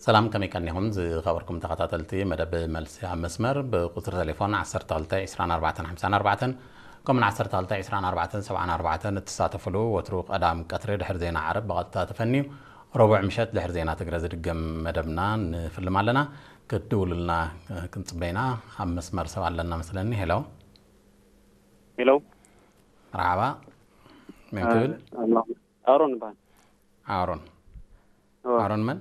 ሰላም፣ ከመይ ቀኒኹም ዝኸበርኩም ተኸታተልቲ መደብ መልሲ ኣብ መስመር? ብቁጽሪ ቴሌፎን ዓሰርተ ክልተ ዕስራን ኣርባዕተን ሓምሳን ኣርባዕተን ከምኡን ዓሰርተ ክልተ ዕስራን ኣርባዕተን ሰብዓን ኣርባዕተን እትሳተፍሉ፣ ወትሩ ቀዳም ቀትሪ ድሕሪ ዜና ዓረብ ብቐጥታ ተፈንዩ፣ ረቡዕ ምሸት ድሕሪ ዜና ትግረ ዝድገም መደብና ንፍልም ኣለና። ክትድውሉልና ክንጽበይና። ኣብ መስመር ሰብ ኣለና መስለኒ። ሄሎ። ሄሎ። መርሓባ። መን ክብል? ኣሮን ይበሃል። ኣሮን። እወ። ኣሮን መን?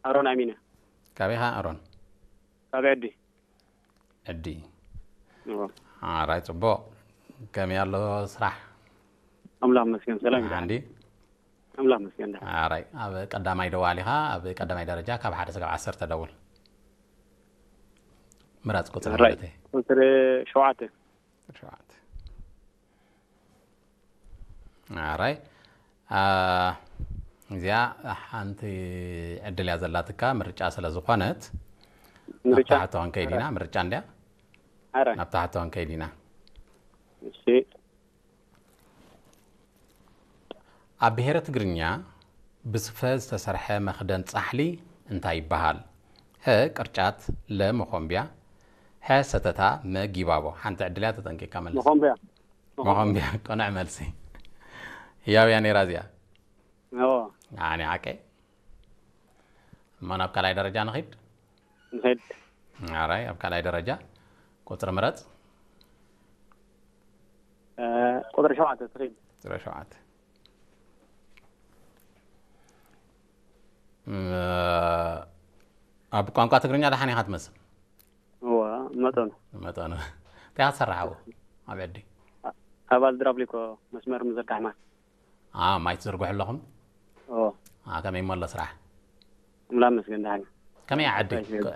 ኣሮን ኣሚነ። ካበይ ኢኻ ኣሮን? ካብ ዕዲ። ዕዲ። እወ። ኣራይ፣ ጽቡቕ። ከመይ ኣሎ ስራሕ? ኣምላኽ መስገን ሰላም እዩ። ሓንዲ? ኣምላኽ መስገን ደሓን። ኣራይ፣ ኣብ ቀዳማይ ደዋል ኢኻ፣ ኣብ ቀዳማይ ደረጃ ካብ ሓደ ስጋብ ዓሰርተ ደውል። ምራጽ ቁጽሪ ኣራይ። ማለት እዩ። ቁጽሪ ሸውዓተ። ሸውዓተ። ኣራይ። አ፣ እዚኣ ሓንቲ ዕድል እያ ዘላትካ፣ ምርጫ ስለ ዝኾነት። ናብ ምርጫ? ታሕቲ ክንከይድ ኢና፣ ምርጫ እንድያ። ኣራይ። ናብ ታሕቲ ክንከይድ ኢና። እሺ። ኣብ ብሔረ ትግርኛ ብስፈ ዝተሰርሐ መኽደን ጻሕሊ እንታይ ይበሃል? ሀ ቅርጫት፣ ለ መኾምቢያ፣ ሐ ሰተታ፣ መ ጊባቦ። ሓንቲ ዕድል እያ፣ ተጠንቂቕካ መልስ። መኾምቢያ። መኾምቢያ፣ ቅኑዕ መልሲ። ህያው እያ ነይራ እዚኣ። እወ። ኣነ ዓቀ። እሞ ናብ ካልኣይ ደረጃ ንኺድ። ንኸይድ። ኣራይ፣ ኣብ ካልኣይ ደረጃ ቁጽሪ ምረጽ። እ፣ ቁጽሪ ሸውዓተ ትኸይድ። ቁጽሪ ሸውዓተ። እ፣ ኣብ ቋንቋ ትግርኛ ደሓን ኢኻ ትመስል። እወ፣ መጠኑ። መጠኑ። እንታይ ኢኻ ትሰርሕ ኣብኡ? ኣብ ዕዲ? ኣባል ድራብሊኮ መስመር ምዝርጋሕ ማይ። አ፣ ማይ ትዝርግሑ ኣለኹም? እወ። አ፣ ከመይ እሞ ኣሎ ስራሕ? ኣምላኽ መስገን ደሓን። ከመይ እያ ዓዲ? እንታይ ይብል?